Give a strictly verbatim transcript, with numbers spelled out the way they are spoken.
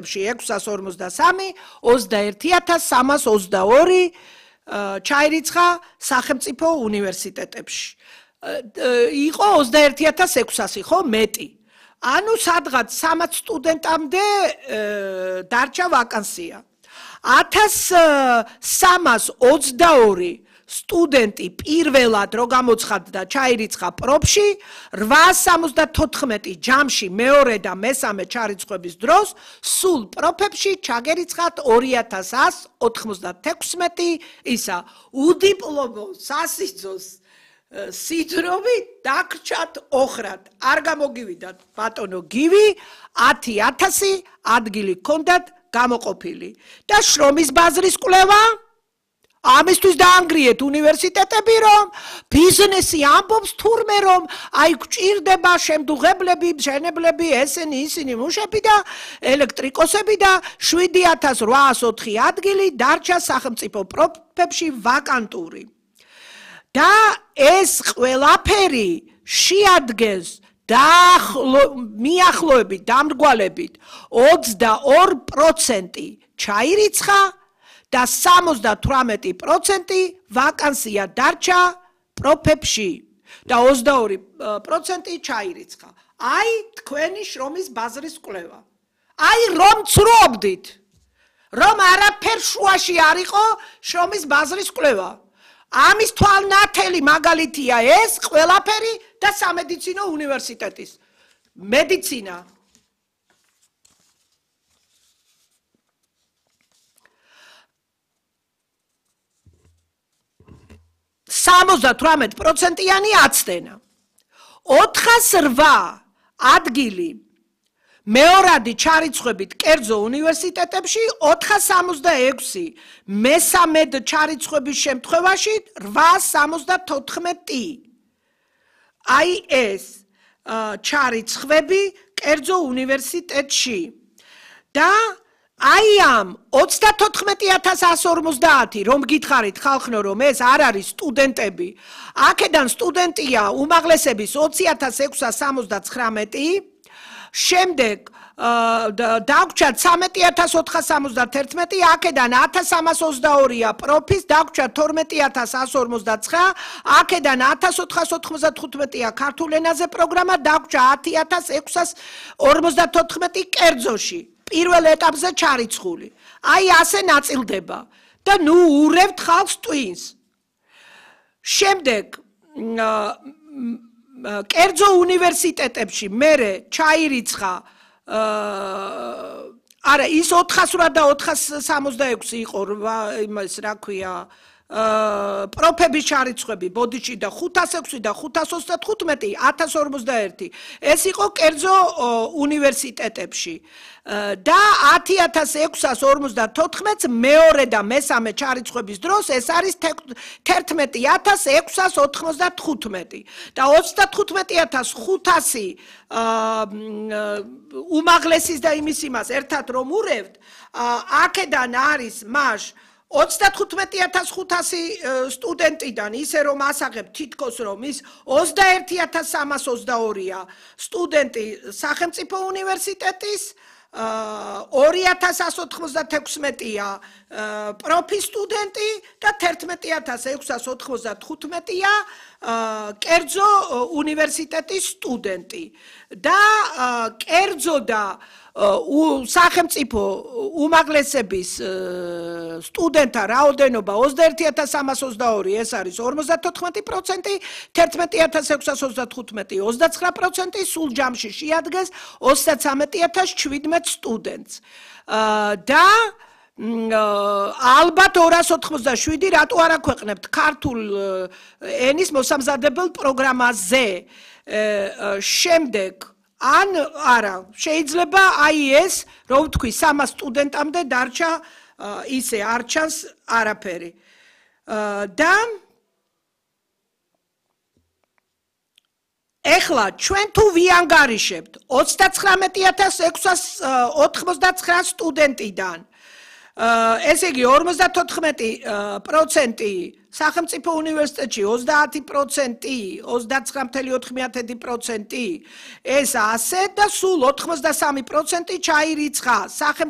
ექვსას ორმოცდასამი, ოცდაერთი ათას სამას ოცდაორი ჩაირიცხა სახელმწიფო უნივერსიტეტებში. იყო ოცდაერთი ათას ექვსასი, ხო, მეტი. ანუ სადღაც სამაც სტუდენტამდე დარჩა ვაკანსია. ათას სამას ოცდაორი სტუდენტი პირველად რო გამოცხადდა ჩაირიცხა პროფში, რვაას სამოცდათოთხმეტი ჯამში მეორე და მესამე ჩარიცხვების დროს სულ პროფებში ჩაგერიცხათ ორი ათას ას ოთხმოცდათექვსმეტი ისა უდიპლომო სასიძოს სიდრომი დაგრჩათ ოხრად. არ გამოგივიდათ ბატონო გივი, ათი ათასი ადგილი ჰქონდათ გამოყოფილი. და შრომის ბაზრის კვლევა ამისთვის დაანგრიეთ უნივერსიტეტები, რომ ბიზნესი ამბობს თურმე, რომ აი გვჭირდება შემდუღებლები, მშენებლები, ესენი, ისინი მუშები და ელექტრიკოსები და შვიდი ათას რვაას ოთხი ადგილი დარჩა სახელმწიფო პროფებში ვაკანტური. და ეს ყველაფერი შეადგენს მიახლოებით დამრგვალებით ოცდაორი პროცენტი ჩაირიცხა და სამოცდათვრამეტი პროცენტი ვაკანსია დარჩა პროფებში და ოცდაორი პროცენტი ჩაირიცხა. აი თქვენი შრომის ბაზრის კვლევა. აი რომ ცრობდით, რომ არაფერ შუაში არ იყო შრომის ბაზრის კვლევა. ამის თვალნათელი მაგალითია ეს ყველაფერი და სამედიცინო უნივერსიტეტის მედიცინა. სამოცდათვრამეტი პროცენტიანი აცდენა. ოთხას რვა ადგილი მეორადი ჩარიცხვებით კერძო უნივერსიტეტებში, ოთხას სამოცდაექვსი მესამედ ჩარიცხვების შემთხვევაში რვაას სამოცდათოთხმეტი. აი ეს ჩარიცხვები კერძო უნივერსიტეტში. და აი ამ ოცდათოთხმეტი ათას ასი ორმოცდაათი რომ გითხარით ხალხნო, რომ ეს არ არის სტუდენტები, აქედან სტუდენტია უმაღლესების ოცი ათას ექვსას სამოცდაცხრამეტი, შემდეგ დაგვრჩათ ცამეტი ათას ოთხას სამოცდათერთმეტი, აქედან ათას სამას ოცდაორია პროფის, დაგვრჩათ თორმეტი ათას ასი ორმოცდაცხრა, აქედან ათას ოთხას ოთხმოცდათხუთმეტია ქართულ ენაზე პროგრამა, დაგვრჩა ათი ათას ექვსას ორმოცდათოთხმეტი კერძოში. პირველ ეტაპზე ჩარიცხული. აი ასე ნაწილდება და ნუ ურევთ ხალხს ტვინს. შემდეგ კერძო უნივერსიტეტებში მერე ჩაირიცხა არა ის ოთხასრვა და ოთხას სამოცდაექვსი იყო იმას რა ქვია პროფების ჩარიცხვები ბოდიში და ხუთას ექვსი და ხუთას ოცდათხუთმეტი ათას ორმოცდაერთი ეს იყო კერძო უნივერსიტეტებში და ათი ათას ექვსას ორმოცდათოთხმეტს მეორე და მესამე ჩარიცხვების დროს ეს არის თერთმეტი ათას ექვსას ოთხმოცდათხუთმეტი და ოცდათხუთმეტი ათას ხუთასი უმაღლესის და იმის იმას ერთად რომ ურევთ აქედან არის მაშ ოცდათხუთმეტი ათას ხუთასი სტუდენტიდან ისე რომ ასაღებ თითქოს რომ ის ოცდაერთი ათას სამას ოცდაორია სტუდენტი სახელმწიფო უნივერსიტეტის ორი ათას ასი ოთხმოცდათექვსმეტია პროფის სტუდენტი და თერთმეტი ათას ექვსას ოთხმოცდათხუთმეტია კერძო უნივერსიტეტის სტუდენტი და კერძო და სახელმწიფო უმაღლესების სტუდენტთა რაოდენობა ოცდაერთი ათას სამას ოცდაორი ეს არის ორმოცდათოთხმეტი პროცენტი, თერთმეტი ათას ექვსას ოცდათხუთმეტი ოცდაცხრა პროცენტი, სულ ჯამში შეადგენს ოცდაცამეტი ათას შვიდმეტ სტუდენტს. და ალბათ ორას ოთხმოცდაშვიდი რატო არ აქვეყნებთ ქართულ ენის მოსამზადებელ პროგრამაზე. შემდეგ ან არა შეიძლება აი ეს რომ ვთქვი სამას სტუდენტამდე დარჩა ისე არ ჩანს არაფერი და ეხლა ჩვენ თუ ვიანგარიშებთ ოცდაცხრამეტი ათას ექვსას ოთხმოცდაცხრა სტუდენტიდან ესე იგი ორმოცდათოთხმეტი პროცენტი სახელმწიფო უნივერსიტეტში ოცდაათი პროცენტი ოცდაცხრა კoma ოთხი პროცენტი ეს ასე და სულ ოთხმოცდასამი პროცენტი ჩაირიცხა სახელმწიფო